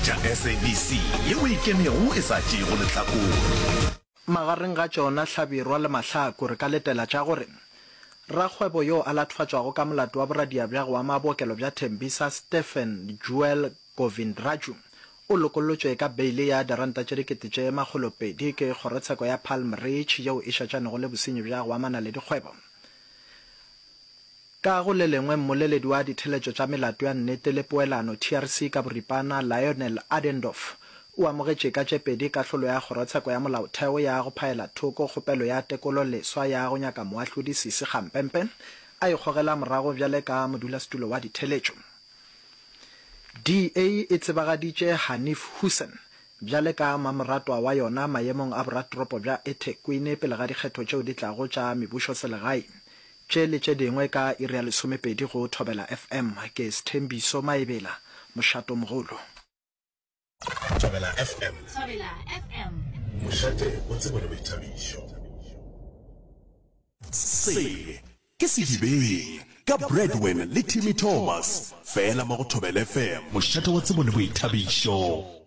Theeletša SABC yeo e ikemego e sa tšeego lehlakore. Magareng ga tšona Hlabirwa le Mahlaku re ka letela tša gore rakgwebo yo a lathofatšwago ka molato wa boradia bja go ama bookelo bja Tembisa Stephen Joel Govindraju o lokollotšwe ka beile ya diranta tše 200,000 ke kgorotsheko ya Palm Ridge yeo e šetšanego le bosenyi bja go amana le dikgwebo. Ka go le lengwe, mmoleledi wa ditheletšo tša melato ya nnete le poelano, TRC ka boripana, Lionel Adendorff, o amogetše ka tše pedi kahlolo ya Kgorotsheko ya Molaotheo ya go phaela thoko kgopelo ya tekolo leswa ya go nyaka moahlodi Sisi Kgampempe a ikgogela morago bjale ka modulasetulo wa ditheletšo. DA e tsebagaditše Hanif Hoosen bjale ka mamoratwa wa yona maemong a boratoropo bja eThekwini pele ga dikgetho tšeo di tlago tša mebušoselegae. Tše le tše dingwe ka iri ya lesomepedi go Thobela FM. Ke Sthembiso Maebela, Mošatomogolo. Thobela FM. Thobela FM. Mošate wa tsebo le boithabišo. Se ke Sedibeng ka Bradwin le Timmy Thomas, fela mo go Thobela FM. Mošate wa tsebo le boithabišo.